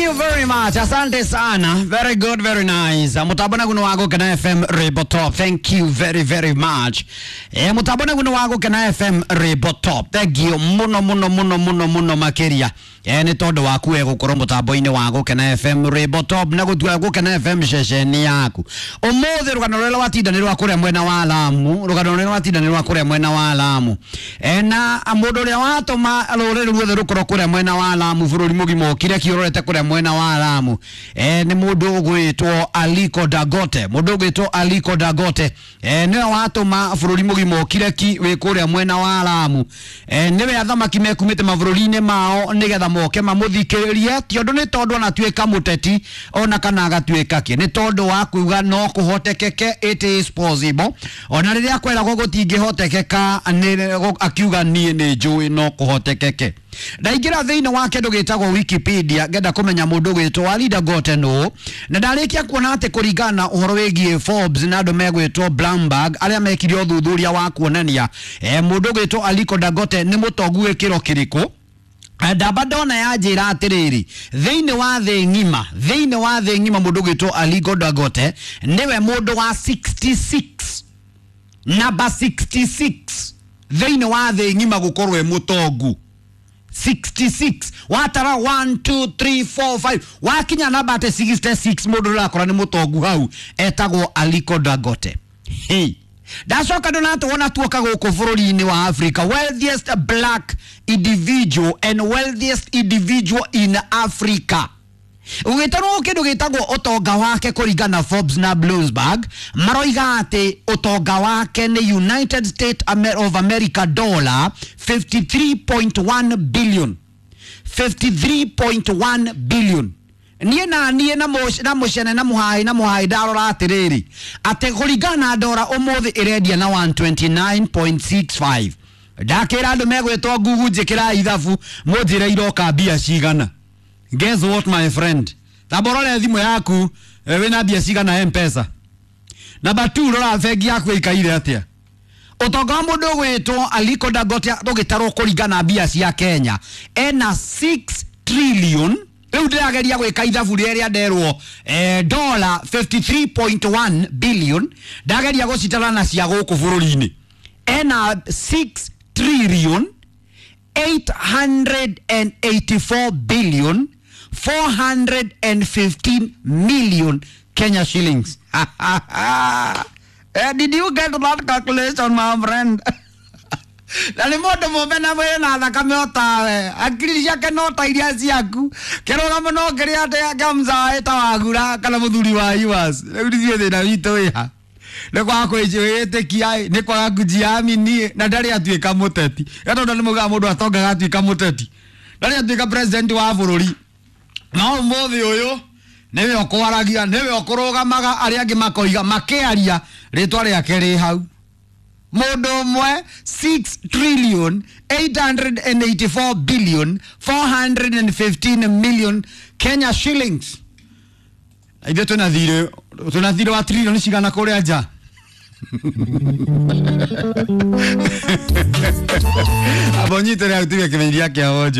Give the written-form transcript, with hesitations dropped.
you very much. Asante sana. Very good, very nice. Mutabona guno wago kana FM Rebo Top. Thank you very very much. Mutabona guno wago kana FM Rebo Top. Thank you muno muno muno muno muno makiria. Nĩ tondũ waku we gũkorwo mũtambo-inĩ wa Gũkena FM Rebo Top na gũtua Gũkena FM ceceni yaku. Ũmũthĩ rũgano rũrĩa rwatinda nĩ rwa kũrĩa mwena wa Lamu, rũgano rũrĩa rwatinda nĩ rwa kũrĩa mwena wa Lamu. Na mũndũ ũrĩa watũma rũrĩrĩ ruothe rũkorwo kũrĩa mwena wa Lamu bũrũri mũgima ũkire kĩũrorete kũrĩa mwena wa Lamu. Nĩ mũndũ ũgwĩtwo Aliko Dangote, mũndũ ũgwĩtwo Aliko Dangote. Nĩwe watũma bũrũri mũgima ũkire ki wĩ kũrĩa mwena wa Lamu. Nĩwe athamaki mekumĩte mabũrũri-inĩ mao nĩgetha moke mamuthikiririe ti undu ni tondu anatuika muteti ona kana agatuika ki ni tondu wa kuuga no kuhotekeke, it is possible. Ona riria kweragwo gutingihotekeka akiuga nie ni njui no kuhotekeke. Ndaingira thiini wa kindu gitagwo Wikipedia ngenda kumenya mundu gwitwo Ali Dangote no na ndarikia kuona ati kuringana uhoro wigie Forbes na andu megwitwo Bloomberg aria mekire uthuthuria wa kuonania mundu gwitwo Aliko Dangote ni mutongu gikiro kiriku. Ndamba ndona ya njira atiriri thiini wa thi ng'ima, thiini wa thi ng'ima mundu gwitwo Aliko Dangote niwe mundu wa 66, namba 66 thiini wa thi ng'ima gukorwo e mutongu 66. Watara 1 2 3 4 5 wakinya namba ate 66 mundu urakora ni mutongu hau etagwo Aliko Dangote. Hey. Ndacoka ndona tuoka gũkũ bũrũri-inĩ wa Africa, wealthiest black individual and wealthiest individual in Africa. Ũgĩtarwo kĩndũ gĩtagwo ũtonga wake kũringana na Forbes na Bloomberg maroiga atĩ ũtonga wake nĩ United States of America dollar 53.1 billion, 53.1 billion. Niĩ na niĩ na mũcene na mũhai na mũhai ndarora atĩrĩrĩ atĩ kũringana na ndora ũmũthĩ ĩrendia na 129.65. Ndakĩra andũ megwĩtwo Google njĩkĩra ithabu mũnjĩre iroka mbia cigana. Guess what my friend, tamba ũrore thimũ yaku wĩna mbia cigana M-Pesa. Namba 2 rora bengi yaku ĩikaire atĩa. Ũtonga wa mũndũ ũgwĩtwo Aliko Dangote ũgĩtarwo kũringana mbia cia Kenya ena 6 trillion. Rĩu ndĩrageria gwĩka ithabu rĩrĩa nderwo dollar 53.1 billion, ndageria gũcitara na cia gũkũ bũrũri-inĩ ena 6 trillion 884 billion 415 million Kenya shillings. Did you get that calculation my friend? Na nĩ mũndũ mũmbe na mwĩna thakame o tawe, akiri ciake no ta iria ciaku, kĩrũgamo no kĩrĩa atĩ mzae ta wagura kana mũthuri wa Iwas. Rĩu ithuĩ thĩna witũ wĩha nĩ kwaga kwĩĩtĩkia, nĩ kwaga kujiamini, na ndarĩ atuĩka mũteti. Tondũ nĩ maugaga mũndũ atongaga atuĩka mũteti, ndarĩ atuĩka president wa bũrũri. No ũmũthĩ ũyũ nĩwe ũkwaragia, nĩwe ũkũrũgamaga, arĩa angĩ makoiga makĩaria rĩtwa rĩake rĩ hau. Mũndũ ũmwe 6 trillion 884 billion 415 million Kenya shillings. Ithuĩ twĩna thirĩ wa trillion cigana kũrĩa nja? Abo nyitĩrĩra gũtiga kĩmenyithia kĩa wonje.